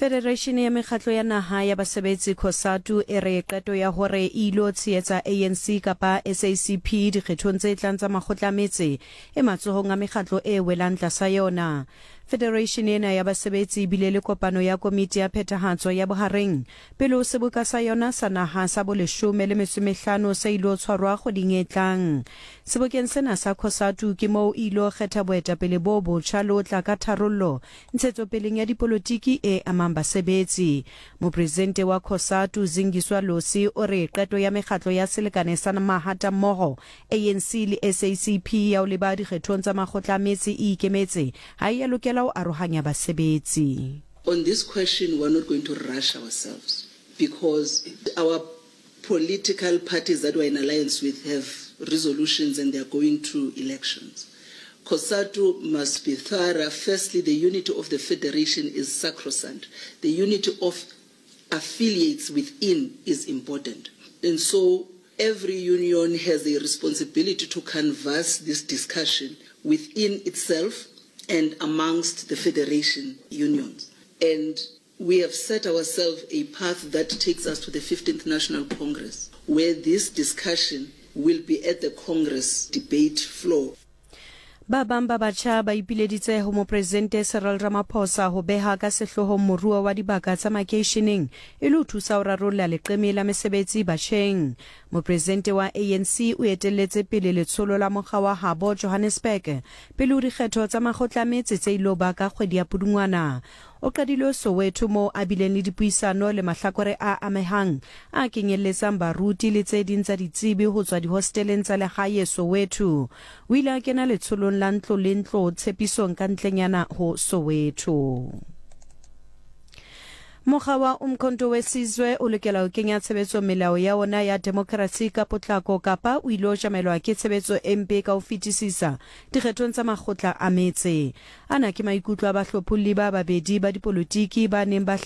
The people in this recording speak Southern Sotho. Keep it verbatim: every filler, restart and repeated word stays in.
Federation ya mekgatlo ya naha ya basebetsi COSATU e re qeto ya hore e ilo tshehetsa A N C kapa S A C P dikgethong tse tlang tsa makgotla a metse e matsohong a mekgatlo e welang tlasa yona. Federation ena ya basebetsi e bile le kopano ya komiti ya phethahatso ya bohareng pele ho seboka sa yona sa naha sa boleshome le metso e mehlano se ilo tshwarwa kgweding e tlang. Sebokeng sena sa COSATU ke moo e ilo kgetha boetapele bo botjha le ho tla ka tharollo ntshetsopeleng ya dipolotiki e amang basebetsi. Mopresidente wa COSATU Zingiswa Losi o re qeto ya mekgatlo ya selekane sa mahatammoho A N C le S A C P ya ho leba dikgethong tsa makgotla a metse e ikemetse ha e a lokela ho arohanya basebetsi. On this question, we're not going to rush ourselves because our political parties that we're in alliance with have resolutions and they're going to elections. COSATU must be thorough. Firstly, the unity of the federation is sacrosanct. The unity of affiliates within is important. And so every union has a responsibility to canvass this discussion within itself and amongst the federation unions. And we have set ourselves a path that takes us to the fifteenth National Congress, where this discussion will be at the Congress debate floor. Ba bang ba batjha ba ipileditse ho mopresidente Cyril Ramaphosa ho beha ka sehloohong moruo wa dibaka tsa makeisheneng e le ho thusa ho rarolla leqeme la mesebetsi batjheng. Mopresidente wa A N C o etelletse pele letsholo la mokga wa habo Johannesburg pele ho dikgetho tsa makgotla a metse tse ilo ba ka kgwedi ya Pudungwana. O qadile Soweto moo a bileng le dipuisano le mahlakore a amehang a kenyelletsang baruti le tse ding tsa ditsebi ho tswa dihosteleng tsa lehae Soweto. O ile a kena letsholong la ntlo le ntlo tshepisong ka ntlenyana ho Soweto. Mokga wa Umkhonto we Sizwe o lokela ho kenya tshebetso melao ya ona ya demokrasi ka potlako kapa o ile tjamelwa ke tshebetso e mpe ka ho fetisisa dikgethong tsa makgotla a metse. Ana ke maikutlo a bahlopholli ba babedi ba dipolotiki ba neng ba